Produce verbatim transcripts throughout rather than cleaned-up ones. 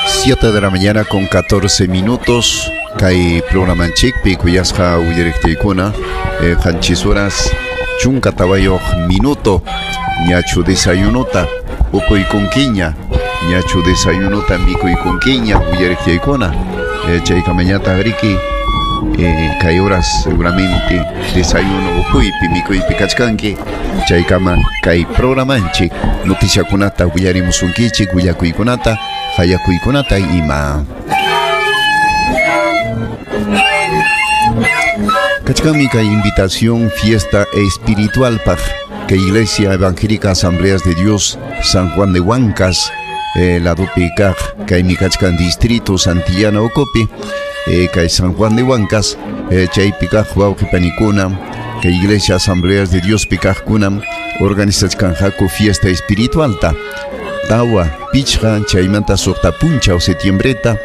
Siete de la mañana con catorce minutos. Kay programanchikpi kuyasqa uyariqtiykuna eh, qanchis horas chunka tawayuq minuto ñachu desayunuta upuykunkiña ñachu desayunuta mikuykunkiña uyariqtiykuna eh, chaykamañataq riki eh, kay horas seguramente desayuno upuypi mikuypi kachkanki chaykama kay programanchik noticiakunata willarimusunkichik willakuykunata hayakuykunata ima. Kachkanmi kay invitación fiesta espiritual paj que Iglesia Evangélica Asambleas de Dios San Juan de Huancas eh, ladopi kaq kaymi kachkan distrito Santillana Ocopi eh, kay San Juan de Huancas eh, chaypi kaq wawqi panikuna kay Iglesia Asambleas de Dios pi kaqkunam organizachkanqaku fiesta espiritualta tawa pichqa chaymanta suqta punchaw setiembreta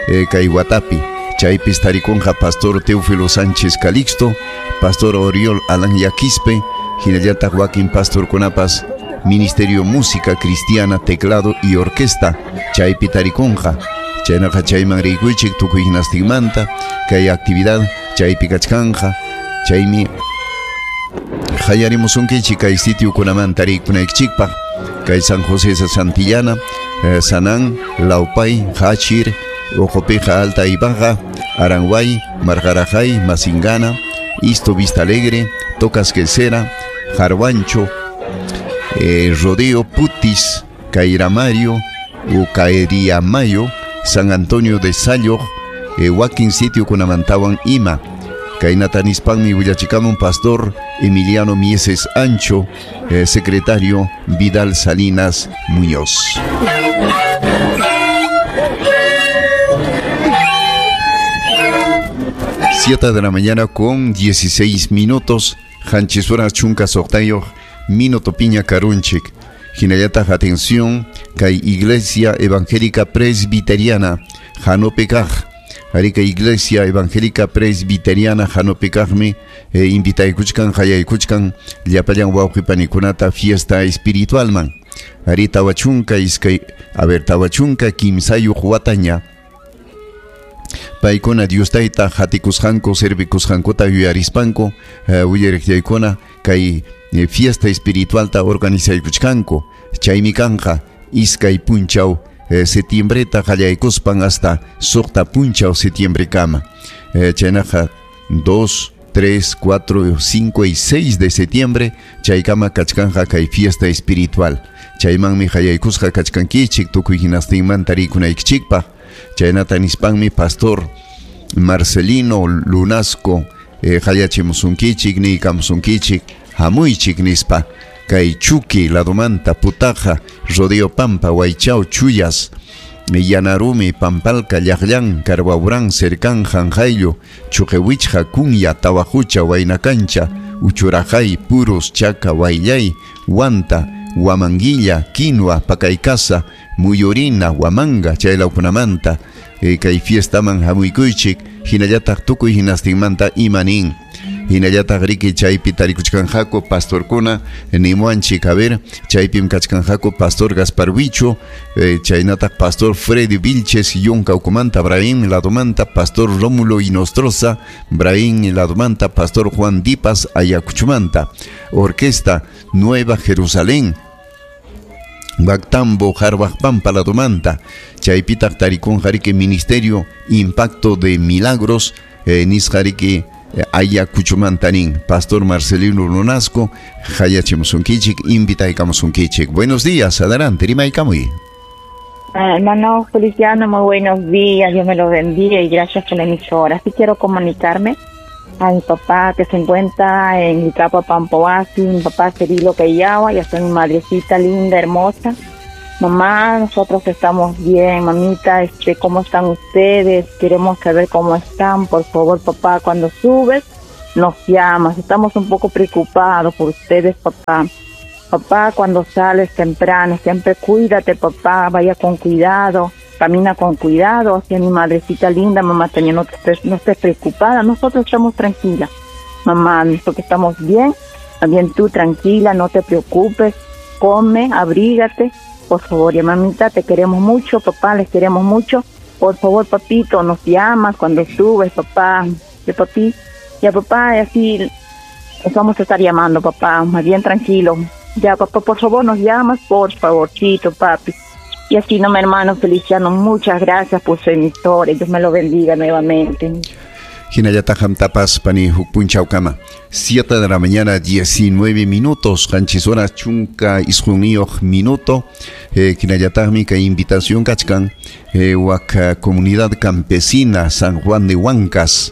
eh, kay watapi chaypis tarikunqa Pastor Teófilo Sánchez Calixto, Pastor Oriol Alan Yaquispe, hinallataq wakin pastorkunapas Ministerio Música Cristiana, Teclado y Orquesta, chaypi tarikunqa chaynaqa chayman rikuychik tukuy hinastinmanta kay actividad chaypi kachkanqa chaymi hayarimusunkichik kay sitiokunamanta rikunaykichikpaq kay San José de Santillana, eh, Sanán, Laupay, Hachir, Ojopeja Alta y Baja, Aranguay, Margarajay, Masingana, Isto Vista Alegre, Tocas Quesera, Jarwancho, eh, Rodeo, Putis, Cairamario, Ucaeriamayo, San Antonio de Sayo, eh, Wakin Sitio Kunamantawan Ima, Kainatanispanmi willachikamun Pastor Emiliano Mieses Ancho, eh, secretario Vidal Salinas Muñoz. Siete de la mañana con dieciséis minutos, Hanchisura Chunka Soqtayoq, Minuto Piña Karunchik. Hinallataq atención, kay Iglesia Evangélica Presbiteriana, Hanopekaj. Arica Iglesia Evangélica Presbiteriana Hanopekajmi, eh, invitaykuchkan, hayaykuchkan, llapallan wawqipanikunata fiesta espiritualman. Ari tawachunka iskay, a ver, tawachunka kimsayuq wataña. Paykuna Dios tayta hatikusqanku servikusqankuta yuyarispanku eh, willariqtiykuna kay eh, fiesta espiritualta organizaykuchkanku chaymi kanqa iskay punchaw eh, setiembreta qallaykuspan hasta suqta punchaw setiembrekama eh, chaynaqa dos, tres, cuatro, cinco y seis de septiembre chaykama kachkanqa kay fiesta espiritual chaymanmi qallaykusqa kachkankichik tukuy hinastinmanta rikunaykichikpaq. Chaynata nispanmi Pastor Marcelino Lunasco eh, hayachimusunkichik niykamusunkichik hamuychik nispa kay Chuqui ladomanta Putaja Rodeo Pampa Waychao Chuyas Yanarumi Pampalca Llaqllan Carbaurán Cercán Janjayllo Chuqewichja Kunya Tawajucha Waynacancha Uchurajay Puros Chaca Wayllay Huanta Huamanguilla, Quinua, Pacaycasa, Muyurina, Huamanga, chaylawkunamanta eh, kay fiestaman hamuykuychik hinallataq tukuy hinastinmanta imanin. Hinallataq riki chaypi tarikuchkanqaku pastorkuna nimuanchik, a ver, chaypim kachkanqaku Pastor Gaspar Huicho, eh, chaynataq Pastor Freddy Vilches Yunka ukumanta, Brahim ladomanta, Pastor Rómulo Inostroza, Brahim ladomanta, Pastor Juan Dipas Ayacuchumanta, Orquesta Nueva Jerusalén, Bactambo, Jarbajpampa ladomanta, chaypitaq tarikunqa riki Ministerio Impacto de Milagros, eh, nisqa riki Ayacuchumanta nin, Pastor Marcelino Lunasco, hayachimusunkichik, invitaykamusunkichik. Buenos días, adelante, rimaykamuy. Ah, hermano Feliciano, muy buenos días, Dios me los bendiga y gracias por la emisora. Sí quiero comunicarme a mi papá que se encuentra en Licapa, Pampoasi, mi papá Cirilo Queyawa, y hasta mi madrecita linda, hermosa. Mamá, nosotros estamos bien, mamita, este, ¿cómo están ustedes? Queremos saber cómo están, por favor, papá, cuando subes, nos llamas. Estamos un poco preocupados por ustedes, papá. Papá, cuando sales temprano, siempre cuídate, papá, vaya con cuidado, camina con cuidado. Hacia mi madrecita linda, mamá, también no, te, no estés preocupada, nosotros estamos tranquilas, mamá, porque estamos bien, también tú tranquila, no te preocupes, come, abrígate. por favor. Ya mamita, te queremos mucho, papá, les queremos mucho. Por favor, papito, nos llamas cuando subes, papá. Ya papi, ya papá, así nos vamos a estar llamando, papá, más bien tranquilo. Ya, papá, por favor, nos llamas, por favorcito, papi. Y así, no, mi hermano Feliciano, muchas gracias por su emisora. Dios me lo bendiga nuevamente. Hinallataq tapas pani huk punchawkama. Siete de la mañana, diecinueve minutos, qanchis horas chunka isqunniyuq minuto. Eh, hinallataqmi kay invitación kachkan eh, wak comunidad campesina San Juan de Huancas.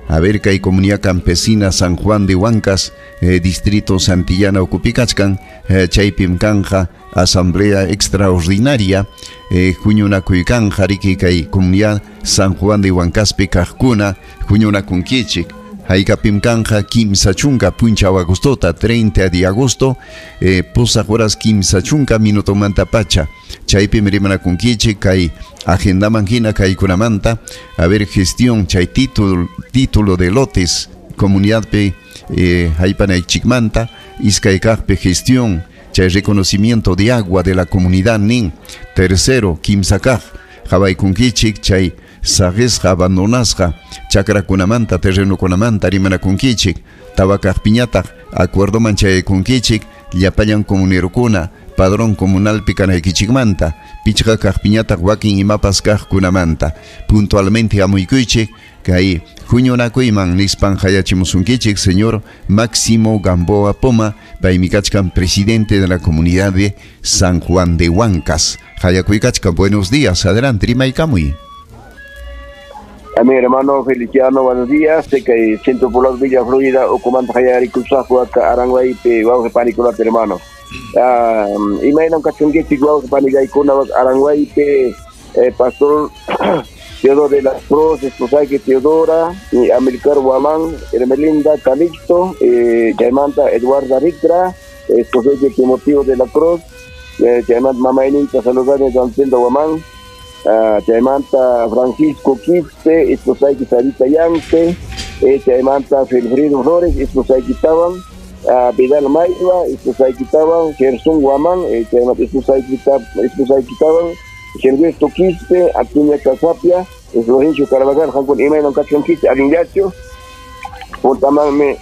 A ver, kay comunidad campesina San Juan de Huancas, eh, distrito Santillana ukhupi kachkan, eh, chaypim kanja asamblea extraordinaria, eh, huñunakuy kanja riki kay comunidad San Juan de Huancaspi kaqkuna huñunakunkichik. Haykapim kanja kimsa chunka punchaw agostota, treinta de agosto, eh, pusaq horas kimsa chunka minutomanta pacha. Chaypim rimanakunkichik kay agendaman hina kaykunamanta, a ver, gestión chay título, título de lotes comunidadpi eh, haypanaychikmanta, iskay kaqpi gestión chay reconocimiento de agua de la comunidad nin. Tercero, kimsa kaq qhawaykunkichik chay saqisqa abandonasqa chakrakunamanta terrenokunamanta rimanakunkichik. Tawa kaqpiñataq acuerdoman chayaykunkichik llapallan comunerukuna padrón comunalpi kanaykichikmanta. Pichqa kaqpiñataq wakin imapas kaqkunamanta puntualmente hamuykuychik kay huñunakuyman nispan hayachimusunkichik señor Máximo Gamboa Poma, paymi kachkan presidente de la comunidad de San Juan de Huancas. Hayakuykachkan, buenos días, adelante, rimaykamuy. A mi hermano Feliciano, buenos días. Sé que Centro Poblado Villa Florida, ukhumanta hayarikusaqku Aranguaypi wawqi panikunata, hermano. Uh, imaynam kachunkichik wawqi panillaykuna Aranguaypi, eh, Pastor Teodoro de la Cruz, esposayki Teodora, y Amilcar Guamán, Hermelinda Calixto, eh, chaymanta Eduarda Ricra, esposayki Timoteo de la Cruz, eh, chaymanta mamayninta saludani Don Guamán, Uh, chaymanta Francisco Quispe, esposayki Sarita Yante, eh, chaymanta Wilfrido Flores, esposayki tawan, uh, Vidal Maywa, esposayki tawan, Gerson Guamán, eh, chaymanta esposayki tawan, Gilberto Quispe, Antonia Casapia, Florencio Carvajal, qamkuna imaynam kachkankichik allinllachu. Puntamanmi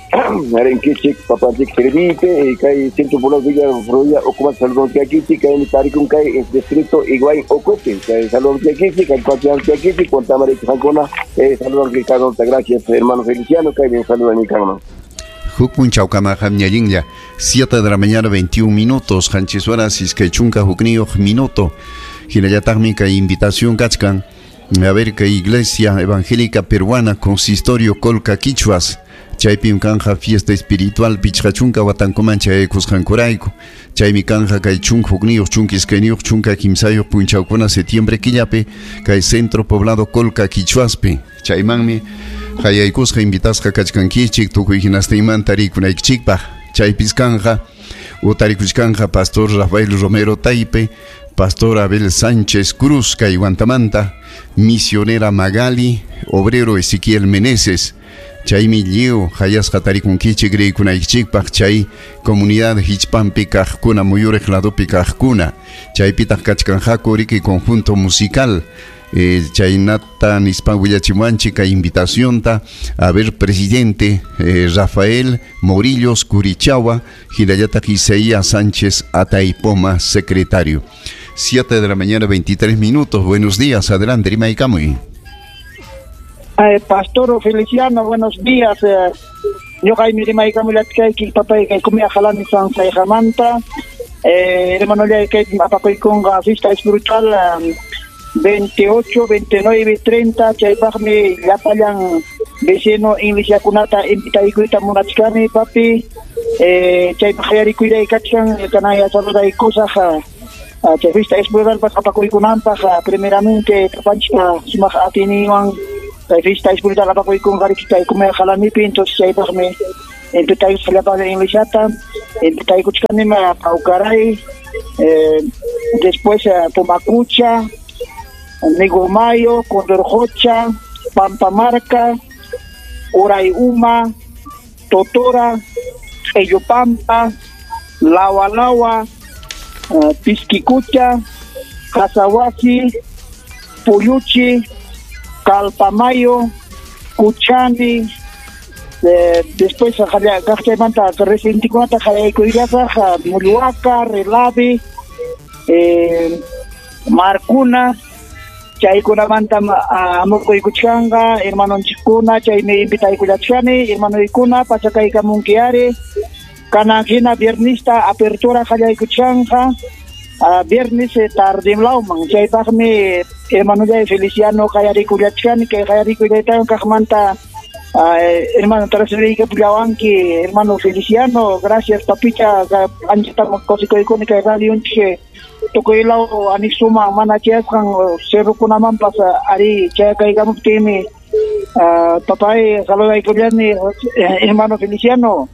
rinkichik papanchik servipe, kay Centro Poblado Villa Florida ukhumanta saludonkikichik, kaymi tarikun kay distrito Higuaín ukhupi, kay saludonkikichik, kay kuachiankikichik, puntaman qamkuna saludonkichik. Gracias, hermano Feliciano, kay bien saludan kanman. Huk punchawkama qamñallinlla, siete de la mañana veintiún minutos, qanchis horas iskay chunka hukniyuq minuto. Hinallataqmi kay invitación kachkan. A ver, que Iglesia Evangélica Peruana, Consistorio Colca Quichuas, chaypim kanja fiesta espiritual pichqa chunka watankuman chayaykusqankurayku. Chaymi kanja kay chunka hukniyuq, chunka iskayniyuq, chunka kimsayuq punchawkuna septiembre killapi kay Centro Poblado Colca Quichuaspi. Chaymanmi hayaykusqa invitasqa kachkankichik tukuy hinastinmanta rikunaykichikpaq. Chaypis kanja utarikuchkanja Pastor Rafael Romero Taipe, Pastor Abel Sánchez Cruz kay Huantamanta, Misionera Magali, Obrero Ezequiel Meneses. Chaymi lliw hayasqa tarikunkichik rikunaykichikpaq chay comunidad hichpanpi kaqkuna muyuriq ladopi kaqkuna. Chaypitaq kachkanqaku riki conjunto musical. Eh, chaynata nispan willachimuanchik kay invitacionta a ver presidente eh, Rafael Morillos Curichagua, hinallataq Isaías Sánchez Ataipoma, secretario. siete de la mañana, veintitrés minutos. Buenos días, adelante, rimaykamuy. Eh, Pastor Feliciano, buenos días. Eh, ñuqaymi rimaykamullatqayki papay kay Kumia Jalani San Sayjamanta. Eh, hermano kay apakuykunqa fiesta espiritual um, veintiocho, veintinueve, treinta, chaypaqmi llapallan vecino inglesiakunata invitaykuyta munachkani papi. Eh, chaypaq hayarikuyray kachkan kanaya saludaykusaq. Chay fiesta espiritual apakuykunanpaq primeramente papanchikpa sumaq atiyninwan kay fiesta espiritual apakuykunqa riki kay Kumia Jalanipi. Entonces chaypaqmi invitaykusqa llapallan inglesiata, invitaykuchkanima Paucaray, eh, después Pumacucha, Negomayo, Condorjocha, Pampamarca, Urayuma, Totora, Eyopampa, Lawa Lawa, uh, Pisquicucha, Casahuasi, Puyuchi, Calpamayo, Cuchani, eh, después kaqchaymanta residentekunata qallaykuyllaqa Mulluaca, Relavi, eh, Marcuna, chaykunamanta amukuykuchkanqa hermanonchikkuna, chaymi invitaykullachkani hermanoykuna pachakaykamunki ari kanan hina viernista apertura qallaykuchkanqa viernes tardimlawman, chaypaqmi hermanollay Feliciano qallarikullachkani kay qallarikuyllaytawan kaqmanta hermano transferiykapullawanki hermano Feliciano, gracias papicha, anchatam kusikuykuni kay radionchik tukuylaw anexuman mana chayasqan cerrokunamanpas ari chayakaykamuptinmi papay saludaykullani hermano Feliciano.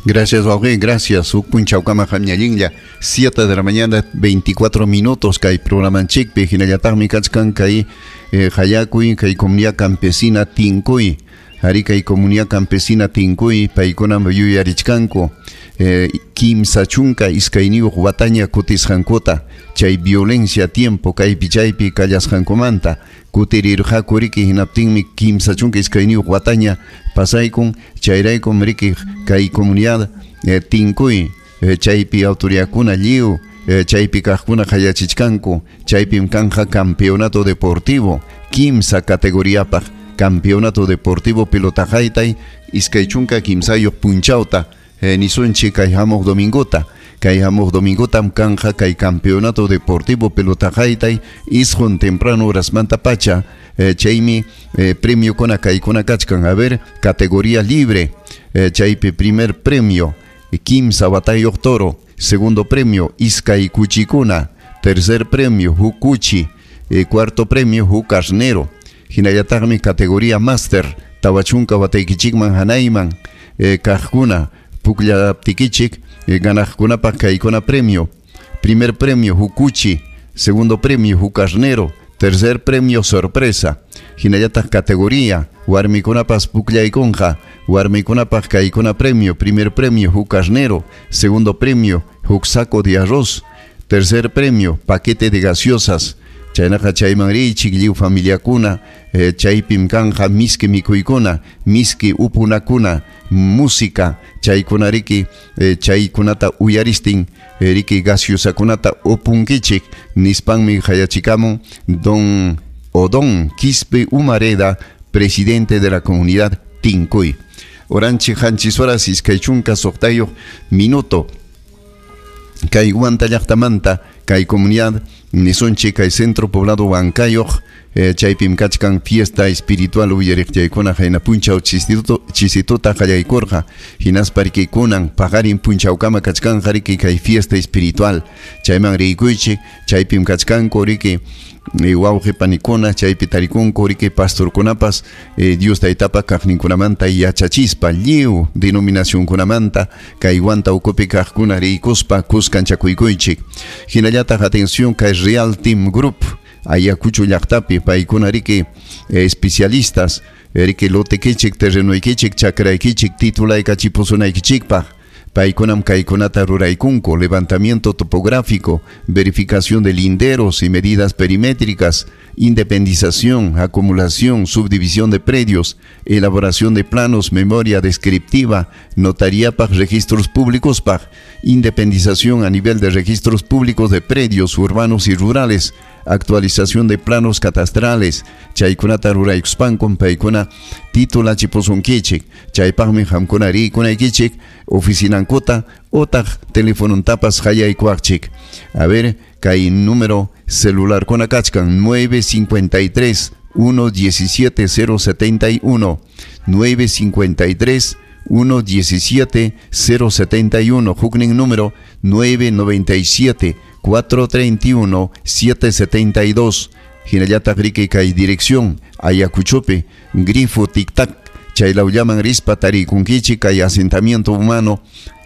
Gracias, wawqi, gracias. Huk punchawkama qamñallinlla, siete de la mañana, veinticuatro minutos, kay programanchikpi, hinallataqmi kachkan kay eh, hayakuy, kay comunidad campesina Tinkuy, ari kay comunidad campesina Tinkuy, paykunam yuyarichkanku, eh, kimsa chunka iskayniyuq wataña kutisqankuta, chay violencia tiempo kaypi chaypi kallasqankumanta, kutirirqaku riki hinaptinmi kimsa chunka iskayniyuq wataña pasaykun, chayraykum riki kay comunidad eh, Tinkuy, eh, chaypi autoridadkuna lliw, eh, chaypi kaqkuna qallachichkanku, chaypim kanja campeonato deportivo, kimsa categoriapaq, campeonato deportivo pelota haytay, iskay chunka kimsayuq punchawta, eh, nisunchik kay hamuq domingota, kay hamuq domingotam kanja kay campeonato deportivo pelota haytay, isqun temprano horasmanta pacha, eh, chaymi eh, premio kuna kaykuna kachkan, a ver, categoría libre, eh, chaypi primer premio, kimsa watayuq toro, segundo premio, iskay kuchikuna, tercer premio, hukuchi, eh, cuarto premio, hukarnero, hinallataqmi categoría máster, tawachunka wataykichikman hanayman, eh, kaqkuna, pukllaptikichik, eh, ganaqkunapaq kaykuna premio, primer premio, hukuchi, segundo premio, hukarnero, tercer premio, sorpresa, hinallataq categoría, warmikunapas pukllaykunqa, warmikunapaq kaykuna premio, primer premio, hukarnero, segundo premio, huk saco de arroz, tercer premio, paquete de gaseosas, chaynaqa chayman riychik lliw familiakuna, eh, chaypim kanja miski mikuykuna, miski upunakuna, música, chaykuna riki, eh, chaykunata uyaristin, eh, riki gaseosakunata upunkichik, nispanmi hayachikamun don Odón Quispe Humareda, presidente de la comunidad Tinkuy. Oranchi qanchis horas iskay chunka suqtayuq minuto. Kay Huanta llaqtamanta, kay comunidad nisunchik kay centro poblado Huancayoq, eh, chaypim kachkan fiesta espiritual uyariqchaykuna hayna punchaw chisituta chisituta qallaykurqa, hinaspa riki kunan paqarin punchawkama kachkanqa riki kay fiesta espiritual, chayman riykuychik, chaypim kachkanku riki wawqi panikuna, chaypi tarikunku riki pastorkunapas, eh, Dios taytapa kaqninkunamanta yachachispa lliw denominacionkunamanta kay Huanta ukupi kaqkuna riykuspa kuskanchakuykuychik. Hinallataq atención kay Real Team Group Ayacucho llaqtapi paykuna riki eh, especialistas riki lotekichik, terrenoykichik, chakraykichik, titulaykachipusunaykichikpaq. Paykunam kaykunata ruraykunku, levantamiento topográfico, verificación de linderos y medidas perimétricas, independización, acumulación, subdivisión de predios, elaboración de planos, memoria descriptiva, notaría paj, registros públicos paj, independización a nivel de registros públicos de predios urbanos y rurales, actualización de planos catastrales, chaykunata ruraykuspankum paykuna titulachipusunkichik, chaypaqmi qamkuna rikunaykichik, oficinankuta otaq telefonontapas hayaykuaqchik. A ver, kay número celular kuna kachkan nueve cincuenta y tres, uno diecisiete, cero setenta y uno, nueve cincuenta y tres, uno diecisiete, cero setenta y uno, huknin número nueve noventa y siete, cuatro treinta y uno, siete setenta y dos. Hinallataq riki kay dirección Ayacuchope, grifo tic-tac, chaylawllaman rispa tarikunkichik kay asentamiento humano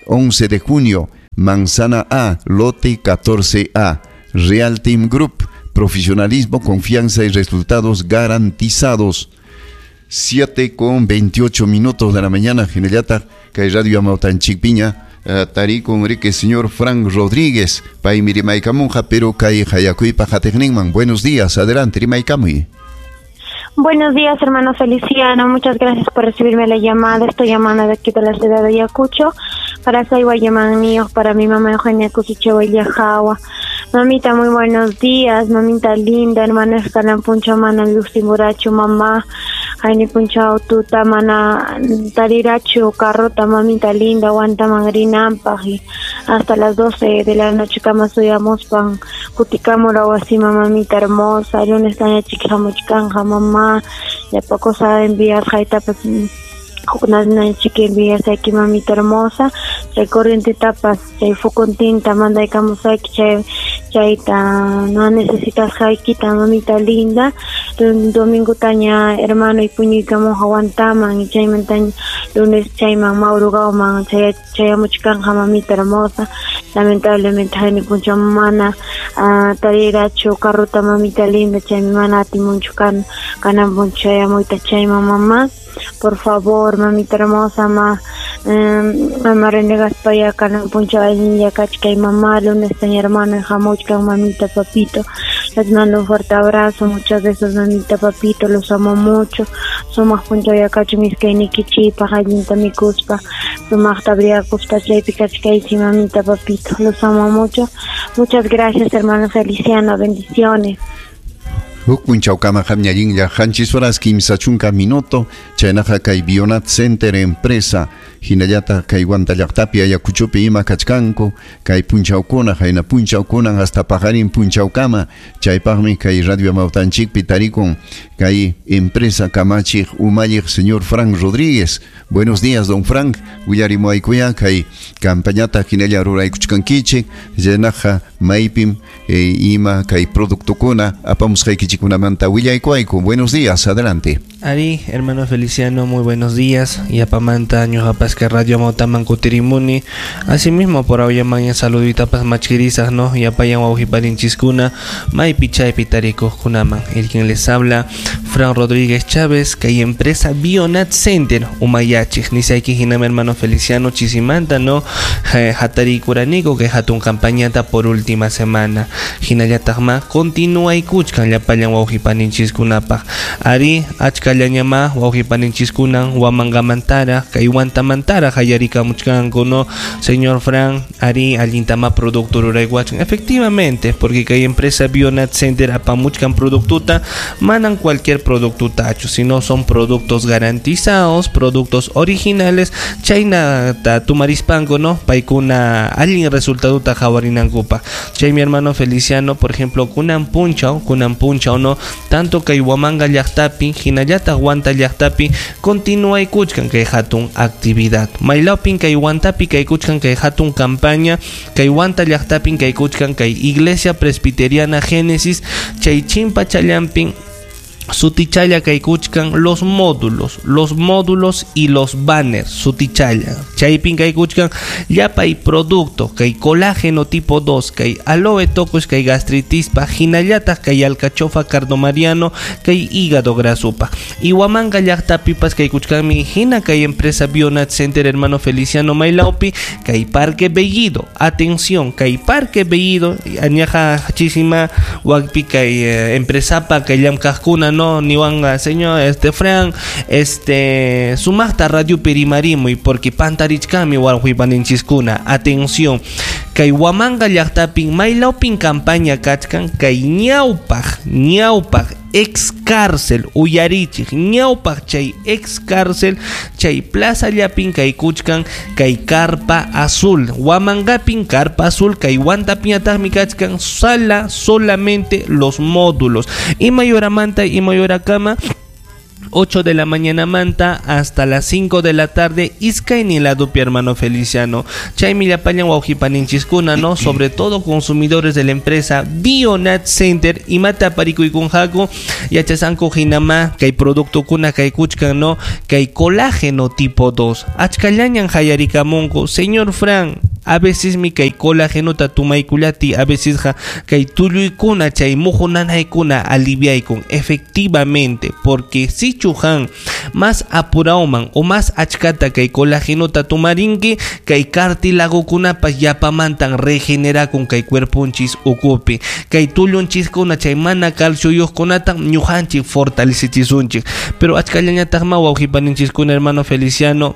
once de junio, Manzana A, lote catorce A. Real Team Group, profesionalismo, confianza y resultados garantizados. siete con veintiocho minutos de la mañana, hinallataq kay radio Amautanchikpiña, uh, tarikun riki señor Frank Rodríguez, paymi rimaykamunqa, pero kay qayakuypa qatiqninman. Buenos días, adelante, rimaykamuy. Buenos días, hermano Feliciano. Muchas gracias por recibirme la llamada. Estoy llamando de aquí de la ciudad de Ayacucho. Para Sayhuayaman para mi mamá Eugenia Cusichewa y Yajawa. Mamita, muy buenos días. Mamita linda, hermana Escalan Puncha, mana Luximuracho, mamá. Jaime Puncha, Tuta, mana Tariracho, Carrota, mamita linda, aguanta mangrinampa. Hasta las doce de la noche, cama suyamos pan. Cuticamola, guasima, mamita hermosa. Lunes, taña, chiquijamuchicanja, mamá. Ya poco sabe enviar jaita pues chiqui enviar aquí mamita hermosa chay corriente tapas chay fukuntinta manda ikamusaki chay chayta no necesitas jaikita mamita linda domingo taña hermano y puñuykamuja aguantaman y chaymantaña lunes chayman maurugawman chay chayamuchkanja mamita hermosa lamentablemente hayni puncha mana uh, tarirachu carrota mamita linda chaymi mana atimunchu kan kanan puncha chayamuyta chayman mamá. Por favor, mamita hermosa, ma, eh, mamá renegaspaya, kanan puncha allinlla kachkay mamá, lunes taña hermano, jamuchkan mamita, papito. Les mando un fuerte abrazo, muchos besos, mamita, papito, los amo mucho. Sumaq puncha kachu miskaynikichikpaq, allinta mikuspa, sumaqta abriakuspa, chaypi kachkaychi, mamita, papito, los amo mucho. Muchas gracias, hermano Feliciano, bendiciones. Huk punchawkama qamñallinlla qanchis horas kimsa chunka minuto chaynaqa kay Bionat Center empresa hinallataq kay Huanta llaqtapi Ayacuchopi ima kachkanku kay punchawkuna hayna punchawkunan hasta paqarin punchawkama chaypaqmi kay Radio Amawtanchikpi tarikun kay empresa kamachiq umalliq señor Frank Rodríguez. Buenos días, don Frank. Willarimuaykuya kay campañata hinalla ruraykuchkankichik chaynaqa maypim eh, ima kay productokuna apamusqaykichikkunamanta willaykuayku. Buenos días, adelante. Ari, hermano Feliciano, muy buenos días. Yapamanta, ñuqapasqa Radio Amawtaman kutirimuni. Asimismo, por ahora saluditapas machkirisas, ¿no? Yapayan wawqiparinchiskuna, maypi chaypi tarikuqkunaman. El quien les habla, Fran Rodríguez Chávez, kay empresa Bionat Center, umayachik. Nisayki hinama hermano Feliciano chisimanta, ¿no? Hatarikuraniko, que hatun campañata por última semana. Hinallataqma, continúa y kuchkan llapallan wawqipaninchikkunapaq. Ari, achkallañama wawqipaninchikkunan Huamangamantara, kay Huantamantara hayarikamuchkanku, ¿no? Señor Fran, ari allintama producto ruraykuachkan. Efectivamente, porque kay empresa Bionat Center apamuchkan productuta, manan cualquier producto tacho, sino son productos garantizados, productos originales, chayna ta tumarispanku, ¿no? Paykuna allin resultaduta hawarinankupa. Chay mi hermano Feliciano, por ejemplo, kunan punchaw, kunan punchaw, ¿no? Tanto kay Huamanga llaqtapi, hinallataq Huanta llaqtapi, continúa ikuchkan kay hatun actividad. Maylawpin kay Huantapi kay kuchkan kay hatun campaña, kay Huanta llaqtapin kay kuchkan kay Iglesia Presbiteriana Génesis, chay chimpa challampin sutichalla kay kuchkan los módulos, los módulos y los banners, sutichalla. Chaypin kay kuchkan llapay producto, kay colágeno tipo dos, kay aloe tocos, kay gastritispa, hinallataq kay alcachofa cardomariano, kay hígado grasupa. Y Huamanga llaqtapipas kay kuchkanmi hina kay empresa Bionat Center hermano Feliciano Maylaupi, kay Parque Bellido. Atención, kay Parque Bellido, añaja chisima wakpi kay eh, empresapa kay llamkaqkuna, no, niwanga señor este Fran, este sumaqta radio perimarimo y porque pantarichkami wawqipaninchiskuna. Atención, kay Huamanga llaqtapin maylawpin campaña kachkan kay ñawpaq ñawpaq ex cárcel uyarichik ñawpaq chay ex cárcel chay plaza llapin kay kuchkan kay carpa azul Huamangapin carpa azul kay Huantapiñataqmi kachkan sala solamente los módulos y mayoramanta y mayorakama ocho de la mañana manta hasta las cinco de la tarde iskaynin ladupi hermano Feliciano. Chaymi llapallan wawqipaninchiskuna, ¿no? Sobre todo consumidores de la empresa Bionat Center imata parikuykunqaku yachasanku hinama kay productokuna kay kuchkan, ¿no? Kay colágeno tipo dos. Achkallañan hayarikamunku, señor Fran, A veces mi kay colágenota tumaykullati, a veces ja kay tulluykuna chay muhu nanaykuna aliviaykun efectivamente, porque si chujan más apurauman o más achkata kay colágenota tumarinki, kay cartilagokunapas yapamantan regenerakun kay cuerponchis ukupi, kay tullunchiskuna chay mana calcioyuqkunata ñuqanchik fortalecichisunchik. Pero achkallañataqma wawqipaninchiskuna, hermano Feliciano,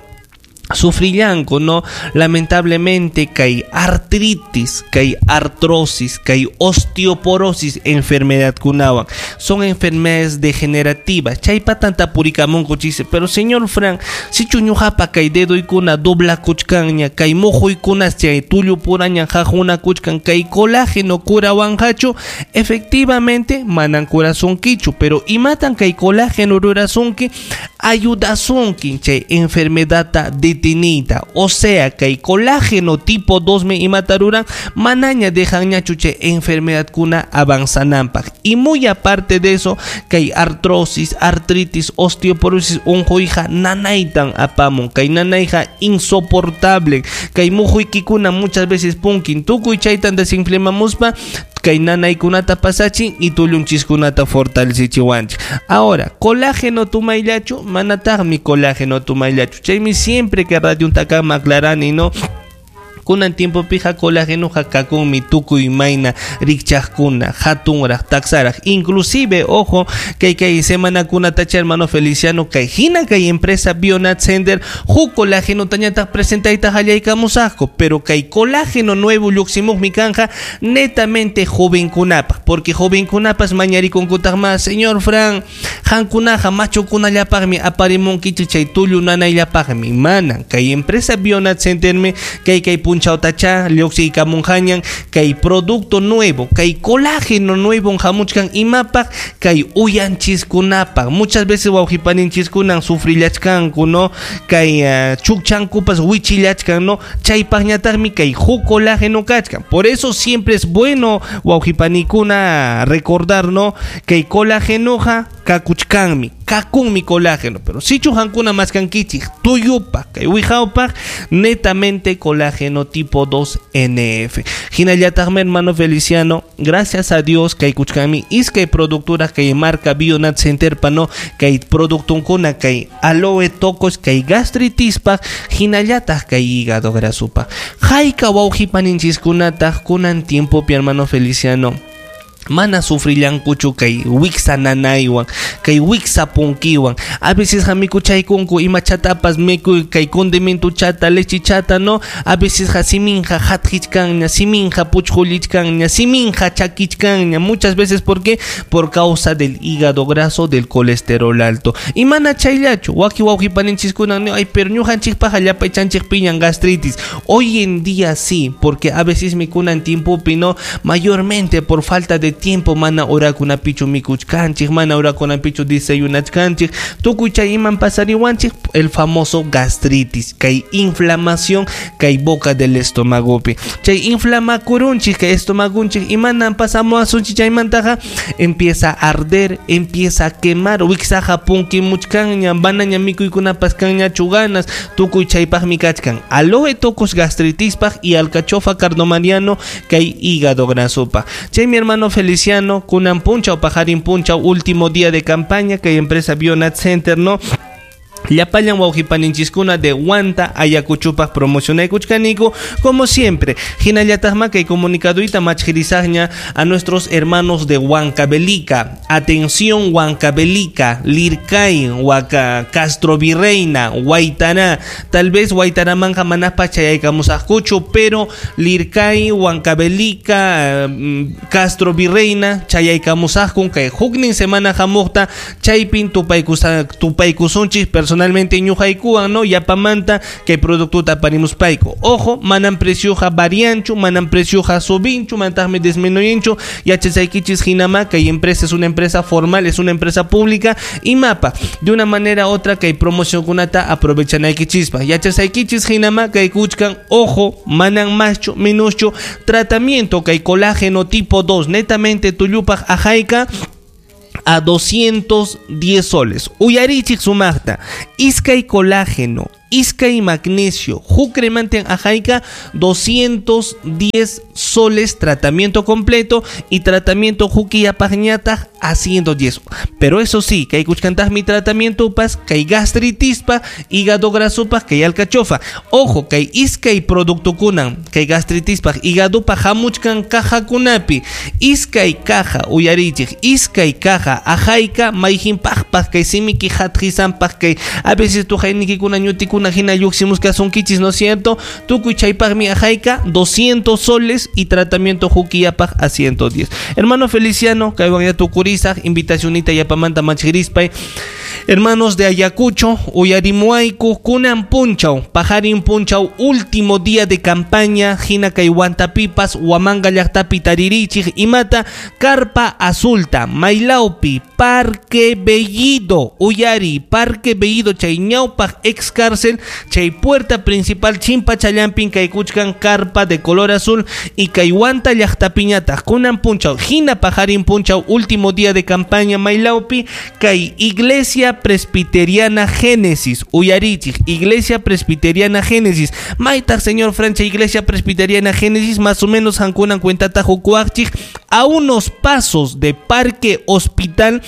sufrillanku, ¿no? Lamentablemente kay artritis, kay artrosis, kay osteoporosis enfermedad kunawan. Son enfermedades degenerativas. Chaypatan tapurikamunku chise. Pero señor Frank, si chuñujapa kay dedoykuna dobla kuchkanña, kay mujuykuna chay tullu puraña jajuna kuchkan, kay colágeno kurawanqachu, efectivamente manan kurasunkichu, pero imatan kay colágeno rurasunki, ayudasunki chay enfermedad de tinita, o sea que colágeno tipo dos me imataruran manaña dejan ñachuche enfermedad kuna avanzanampak. Y muy aparte de eso, que hay artrosis, artritis, osteoporosis, unjoija nanaitan apamun, que hay nanaija insoportable, que hay mujuikikuna muchas veces punkin tukuy chaytan desinflamamuspa, kay nanaykunata pasachin y tullunchiskunata fortalecichiwanchik. Ahora, colágeno tumayllachu, manataqmi colágeno tumayllachu. Chaymi siempre que radio untakama aclarani, ¿no? Kunan tiempo pija colágeno jakakunmi tukuy mayna rikchaqkuna hatunraq taksaraq, inclusive ojo kay kay semana kunatacha hermano Feliciano kay hina kay empresa Bionat Center huk colágeno tañataq presentayta qallaykamusaqku, pero kay colágeno nuevo lluqsimuqmi kanja netamente jovenkunapaq, porque jovenkunapas mañarikunkutaq más, señor Fran, hankunaqa machukunallapaqmi aparimunkichik chay tullu nanayllapaqmi, manan kay empresa Bionat Centermi kay kay punchawtacha lluqsiykamunqañan kay producto nuevo, kay colágeno nuevo hamuchkan imapaq kay uyanchiskunapaq. Muchas veces wawqipaninchis-kunan sufrillachkanku, ¿no? Kay uh, chukchankupas wichillachkan, ¿no? Chaypaqñataqmi kay huk colágeno kachkan. Por eso siempre es bueno wawqipanikuna recordar, ¿no? Kay colágenoja kakuchkanmi, kakunmi colágeno, pero si chujankuna maskankichik tuyupaq, kay wijawpaq, netamente colágeno tipo dos N F. Hinallataqmi hermano Feliciano, gracias a Dios kay kuchkanmi iskay productora kay marca Bionat Center pa, no, kay productunkuna kay aloe tocos kay gastritispaq, hinallataq kay hígado grasupaq. Hayka wawqipaninchikkunataq kunan tiempopi hermano Feliciano mana sufrillankuchu kay wiksa nanaywan, kay wiksa punkiwan. A veces hamikuchaykunku ima chatapas mikuy kay condimento chata, leche chata, no. A veces siminja hatjichkanña, siminja puchjulichkanña, siminja chakichkanña. Muchas veces, ¿por qué? Por causa del hígado graso, del colesterol alto. Y mana chayllachu, waki wawqipaninchiskuna, no, ay, pero ñuqanchikpaqa llapaychanchik piñan gastritis. Hoy en día sí, porque a veces mikunan tiempopi, no, mayormente por falta de tiempo mana orakunapichu mikuchkanchik, mana orakunapichu desayunachkanchik, tukuy chay iman pasariwanchik el famoso gastritis, kay inflamación kay boca del estomagopi, chay inflamakurunchik kay estomagunchik imanan pasamuasunchik chaymantaqa empieza a arder, empieza a quemar, wiksaqa punkimuchkanña, manaña mikuykunapas kanñachu ganas, tukuy chaypaqmi kachkan aloe tocos gastritispaq y alcachofa cardomariano kay hígado grasopaq. Chay mi hermano Feliciano, kunan punchaw pajarin punchaw, último día de campaña que empresa Bionat Center, ¿no? Llapallan wawqipaninchiskuna de Huanta Ayacuchupaq promocionaykuchkaniku como siempre. Hinallataqma kay comunicaduita machjirisaqña a nuestros hermanos de Huancavelica. Atención Huancavelica, Lircay, Huaca, Castro Virreina, Huaytará. Tal vez Huaytaramanja manaspa chayaykamusaqkuchu, pero Lircay, Huancavelica, Castro Virreina chayaykamusaqkun kay huknin semana hamuqta chaypin tupaykusa tupaykusunchis personalmente ñuqaykuwan, no, yapamanta kay productuta aparimuspayku. Ojo, manan precioja varianchu, manan precioja subinchu, mantaqmi disminuyinchu. Yachasaykichis hinama kay empresa es una empresa formal, es una empresa pública y mapa de una manera u otra kay promocionkunata aprovechanaykichispa. Yachasaykichis hinama kay kuchkan, ojo, manan maschu, minuschu, tratamiento kay colágeno tipo dos, netamente tullupaq ajayka a doscientos diez soles. Uyarichik sumaqta, iskay colágeno, Iskay magnesio huk cremanten ajayka doscientos diez soles tratamiento completo y tratamiento hukiyapaqñataq a ciento diez. Pero eso sí, kay kuchkantaqmi tratamiento pas, kay gastritispa, hígado grasopa, kay alcachofa. Ojo, kay iskay productokunan, kay gastritispa, hígadopa hamuchkan cajakunapi. Iskay caja, uyarichik, iskay caja, ajayka mayhinpaqpaq, kay simiki hatqisanpaq, kay a veces tujaynikikuna ñutikuna hina lluqsimusqasunkichis, ¿no es cierto? Tukuy chaypaqmi ajayka doscientos soles y tratamiento hukiyapaq a ciento diez. Hermano Feliciano, kaywan ya tukurisaq, invitacionita yapamanta machirispay. Hermanos de Ayacucho, uyarimuayku, kunan punchaw, pajarin punchaw, último día de campaña, hina kay Huantapipas, Huamanga llaqtapi taririchik, imata, carpa azulta, Mailaupi, Parque Bellido, uyari, Parque Bellido, chay ñawpaq ex cárcel, chay puerta principal, chimpa challampin, kay kuchkan, carpa de color azul, y kay Huanta llaqtapiñataq, kunan punchaw, hina pajarin punchaw, último día de campaña, Mailaupi, kay Iglesia Presbiteriana Génesis, uyarichik, Iglesia Presbiteriana Génesis, maytaq señor Francha, Iglesia Presbiteriana Génesis, más o menos hankunan cuentata jukuachik, a unos pasos de Parque Hospital,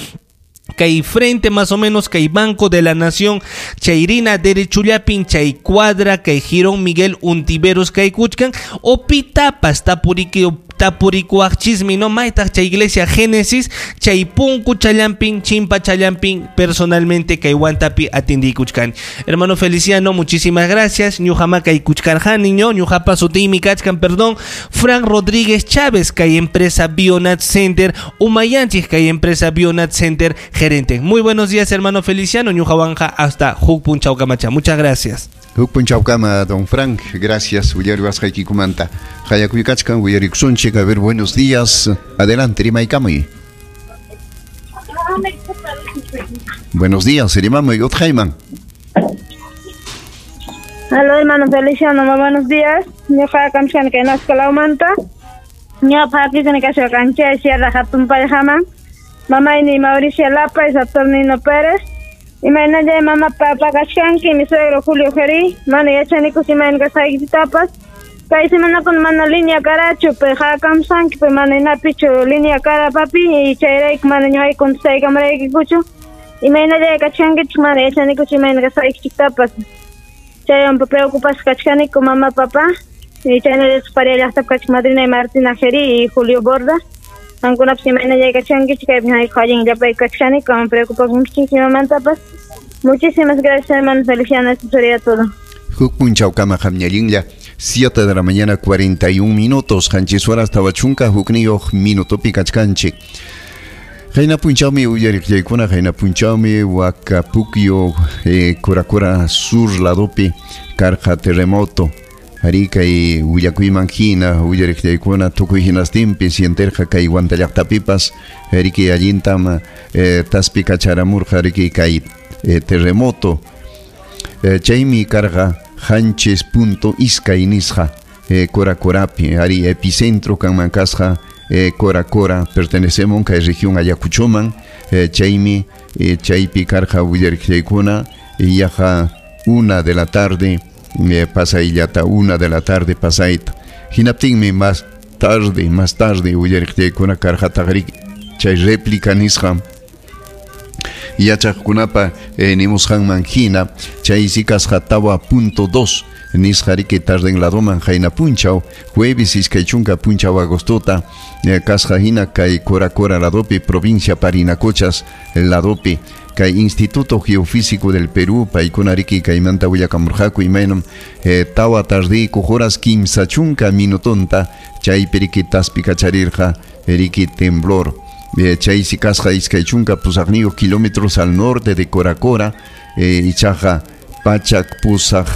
kay frente más o menos kay Banco de la Nación, chayrina derechullapin, chay cuadra, kay Girón Miguel Untiveros, kay kuchkan, o pitapas tapuriki, tapurikuaqchismi, no maytaq chay Iglesia Génesis, chay punku challampin, chimpa challampin, personalmente kay Huantapi atindikuchkan. Hermano Feliciano, muchísimas gracias. Ñuqama kay kuchkarjani, ño, ñuqapa sutiymi kachkan, perdón, Frank Rodríguez Chávez, kay empresa Bionat Center, umayanchik kay empresa Bionat Center, gerente. Muy buenos días, hermano Feliciano, ñuqawanja hasta huk punchawkamacha. Muchas gracias. Huk punchawkama, don Frank, gracias. Uyariwasqaykikumanta. Hayakuykaachkan, uyarikusunchik. A ver, buenos días. Adelante, rimaykamuy. Buenos días, rimamuy, utqayman. Aló, hermano Feliciano, muy buenos días. Ñuqa kamchkani kay Nascalawmanta. Ñuqa hapisani kasqa kanchay Sierra Hatunpayhaman. Mamayni Mauricio Lapa y Saturnino Pérez. Imaynallay mamá papa kachkanki, mi suegro Julio Gerí. Mana yachanikus imayna kasqaykitapas. Kay semanakuna mana línea karachu, pe hakamsanki, pe mana inapichu línea kara papi, y chayrayku mana ñuqayku contestaykamaraykikuchu. Imaynallay kachkankichik, mana yachanikus imayna kasqaykichiktapas. Chaywan preocupasqa kachkaniku mamá papá. Y chaynallataq paria llaqtapi kachkan madrina Martina Gerí y Julio Borda. Qamkunapas imaynallay kachkankichik, kaypi hayku allin llapayku kachkaniku, ama preocupakunkichik imamantapas. Muchísimas gracias, hermano Feliciano, esto sería todo. Huk punchawkama qamñallinlla, siete de la mañana cuarenta y un minutos, qanchis horas tawa chunka hukniyuq minutopi kachkanchik. Qayna punchawmi uyariqllaykuna, qayna punchawmi Huacapukio, eh, Coracora Sur ladopi karqa terremoto. Ari kay willakuyman hina uyariqllaykuna tukuy hinastinpi sienterqa kay Huanta llaqtapipas, riki allintam eh, taspi kacharamurqa riki kay eh, terremoto. Eh, chaymi karqa qanchis punto iskay nisqa eh, Coracorapi, ari epicentro kanman kasqa eh, Coracora, pertenecemos kay región Ayacuchoman, eh, chaymi eh, chaypi karqa uyariqllaykuna yaqa una de la tarde, eh, pasayllata una de la tarde pasayta. Hinaptinmi más tarde, más tarde uyariqllaykuna karqataqri chay réplica nisqa yachaqkunapa eh, nimusqanman hina chay si kasqa tawa punto dos nisqa riki tarden ladoman qayna punchaw jueves iskay chunka punchaw agostota eh, kasqa hina kay Coracora ladopi provincia Parinacochas ladopi kay Instituto Geofísico del Perú paykuna riki kaymanta willakamurqaku imaynam eh, tawa tardiyku horas kimsa chunka minutonta chaypi riki taspi kacharirqa riki temblor. Eh, chaysi kasqa iskay chunka pusaqniyuq kilómetros al norte de Coracora, eh, ichaqa pachak pusaq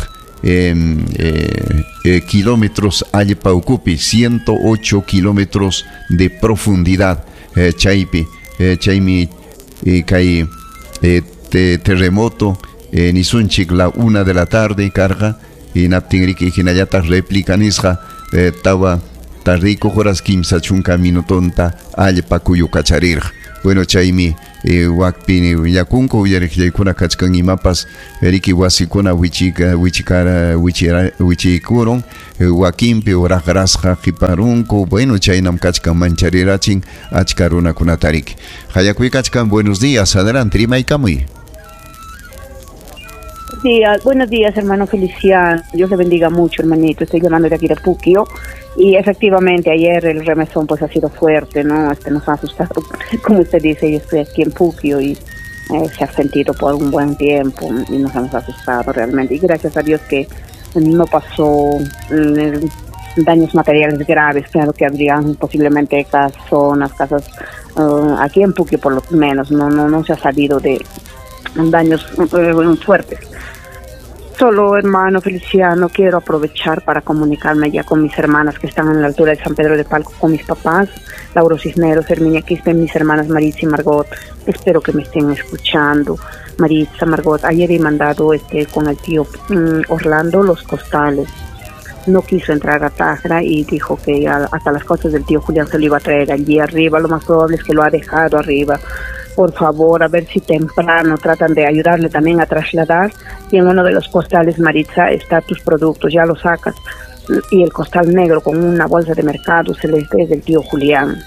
eh, eh, eh, kilómetros allpa ukupi, ciento ocho kilómetros de profundidad, eh, chaypi, eh, chaymi, eh, kay, eh, te, terremoto, eh, nisunchik la una de la tarde carga y naptinriki hinallataq réplica nisqa, eh, tawa tardiyku horas kimsa chunka minutonta allpa kuyukacharirqa. Bueno, chaymi eh, wakpi willakunku uyariqllaykuna kachkan imapas riki wasikuna wichika wichikara wichira wichikurun wakinpi uraqrasqa qiparunku. Bueno, chaynam kachkan mancharirachin achka runakunata riki. Hayakuy kachkan, buenos días, adelante, rimaykamuy. Días, buenos días, hermano Feliciano. Dios le bendiga mucho, hermanito. Estoy llamando de aquí de Puquio y efectivamente ayer el remesón pues ha sido fuerte, ¿no? Este nos ha asustado, como usted dice. Yo estoy aquí en Puquio y eh, se ha sentido por un buen tiempo y nos hemos asustado realmente. Y gracias a Dios que no pasó eh, daños materiales graves. Claro que habrían posiblemente casonas, casas uh, aquí en Puquio por lo menos no, no, no se ha salido de daños eh, fuertes. Solo, hermano Feliciano, quiero aprovechar para comunicarme ya con mis hermanas que están en la altura de San Pedro de Palco, con mis papás, Lauro Cisneros, Herminia Quispe, mis hermanas Maritza y Margot. Espero que me estén escuchando. Maritza, Margot, ayer he mandado este con el tío um, Orlando los costales. No quiso entrar a Tajra y dijo que ya hasta las cosas del tío Julián se lo iba a traer allí arriba. Lo más probable es que lo ha dejado arriba. Por favor, a ver si temprano tratan de ayudarle también a trasladar. Y en uno de los costales, Maritza, está tus productos, ya los sacas. Y el costal negro con una bolsa de mercado celeste es del tío Julián.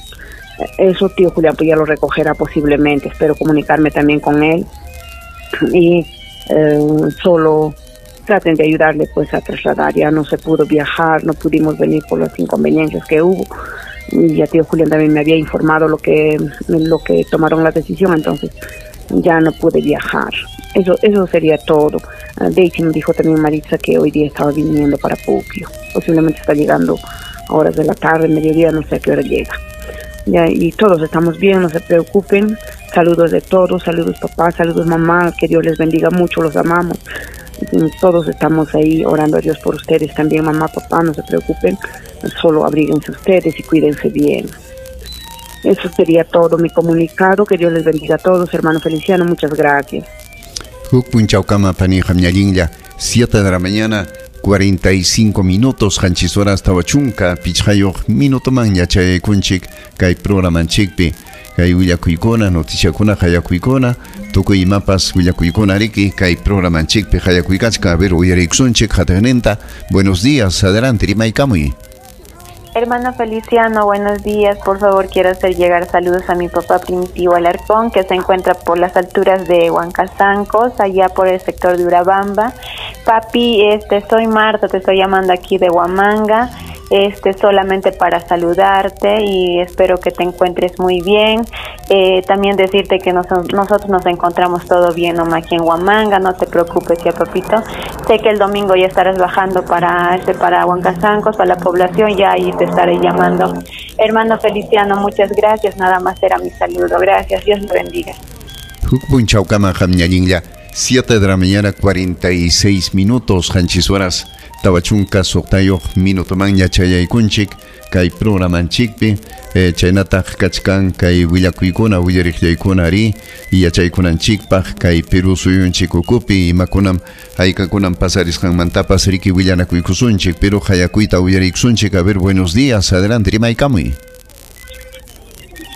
Eso tío Julián pues ya lo recogerá posiblemente. Espero comunicarme también con él. Y eh, solo traten de ayudarle pues a trasladar. Ya no se pudo viajar, no pudimos venir por las inconveniencias que hubo. Y ya tío Julián también me había informado lo que lo que tomaron la decisión, entonces ya no pude viajar. Eso eso sería todo. De hecho me dijo también Maritza que hoy día estaba viniendo para Puquio. Posiblemente está llegando a horas de la tarde, mediodía, no sé a qué hora llega. Ya, y todos estamos bien, no se preocupen. Saludos de todos, saludos papá, saludos mamá, que Dios les bendiga mucho, los amamos. Todos estamos ahí orando a Dios por ustedes también, mamá, papá, no se preocupen, solo abríguense ustedes y cuídense bien. Eso sería todo mi comunicado, que Dios les bendiga a todos, hermano Feliciano, muchas gracias. siete de la mañana, cuarenta y cinco minutos, qanchis horas tawa chunka pichqayuq minutoman yachaykunchik kay programanchikpi. Kay willakuykuna, noticiakuna, hayakuykuna, tukuy imapas willakuykuna riki kay programanchikpi hayakuykachka. A ver, uyariykusunchik hatiqninta. Buenos días, adelante, rimaykamuy. Hermano Feliciano, buenos días. Por favor, quiero hacer llegar saludos a mi papá Primitivo Alarcón, que se encuentra por las alturas de Huancazancos, allá por el sector de Urabamba. Papi, este, soy Marta, te estoy llamando aquí de Huamanga, este, solamente para saludarte y espero que te encuentres muy bien. Eh, también decirte que nos, nosotros nos encontramos todo bien nomás aquí en Huamanga, no te preocupes ya, papito. Sé que el domingo ya estarás bajando para, este, para Huancazancos, para la población, ya ahí te estaré llamando. Hermano Feliciano, muchas gracias, nada más era mi saludo. Gracias, Dios lo bendiga. siete de la mañana, cuarenta y seis minutos, qanchis horas tawa chunka suqtayuq minutoman yachayaykunchik kay programanchikpi. Eh, chaynataq kachkan kay willakuykuna willariqllaykuna ari yachaykunanchikpaq kay Perú suyunchik ukupi imakunam haykakunam pasarisqanmantapas riki willanakuykusunchik, pero hayakuyta uyariykusunchik. A ver, buenos días, adelante, rimaykamuy.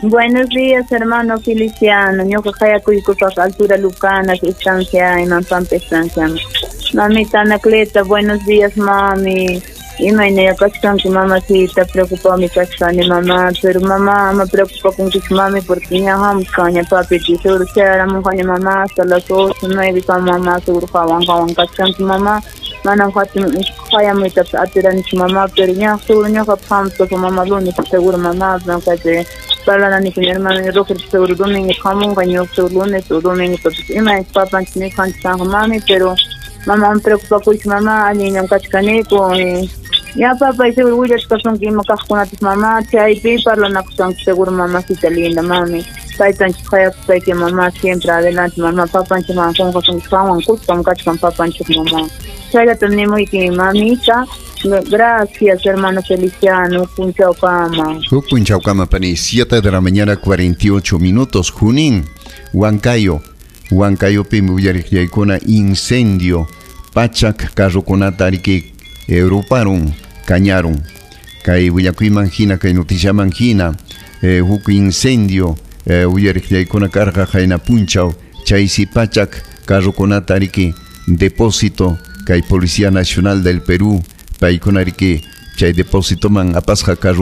Buenos días, hermano Feliciano. Ñuqa hayakuykusaq altura Lucanas, estancia en Pampa estancia. Mamita Anacleta, buenos días, mami. Imayna kachkanki, mamacita, preocupami kachkani, mamá, pero mamá me preocupa con que mami porque ña hamushkaña papi, seguro chayaramunqaña mamá hasta las ocho, nueve, mamá, seguro hawan hawan kachkanki, mamá. Manam hayamuytapas atiranichu mamá, pero ña seguro ñuqapas hamusqaqa mamá lunes seguro mamá, kaypi parlananiku mi hermano Roger seguro domingo hamunqa, ñuqa seguro lunes o domingo, ima papanchik mijanchik kanqa mami, pero mamá me preocupa kuychu mamá, allinllam kachkaniku. Ya papá, seguro willachkasunki ima kaqkunatas mamá, chaypi parlanakusanki seguro mamacita linda mami. Taytanchik hayakuspayki mamá, siempre adelante mamá, papanchikman qunqasunki qanwan kuskam kachkan papanchik mamá. Chayllatam nimuyki mamita. Gracias, hermano Feliciano. Punchawkama. Huk punchawkama, pani. siete de la mañana, cuarenta y ocho minutos. Junín, Huancayo. Huancayopi willariqllaykuna incendio. Pachak carrokunata riki ruparun, kañarun. Kay willakuyman hina, kay noticiaman hina, eh, huk incendio eh, uyariqllaykuna karqa qayna punchaw chaysi pachak carrokunata riki depósito kay Policía Nacional del Perú paykuna riki chay depósitoman apasqa carro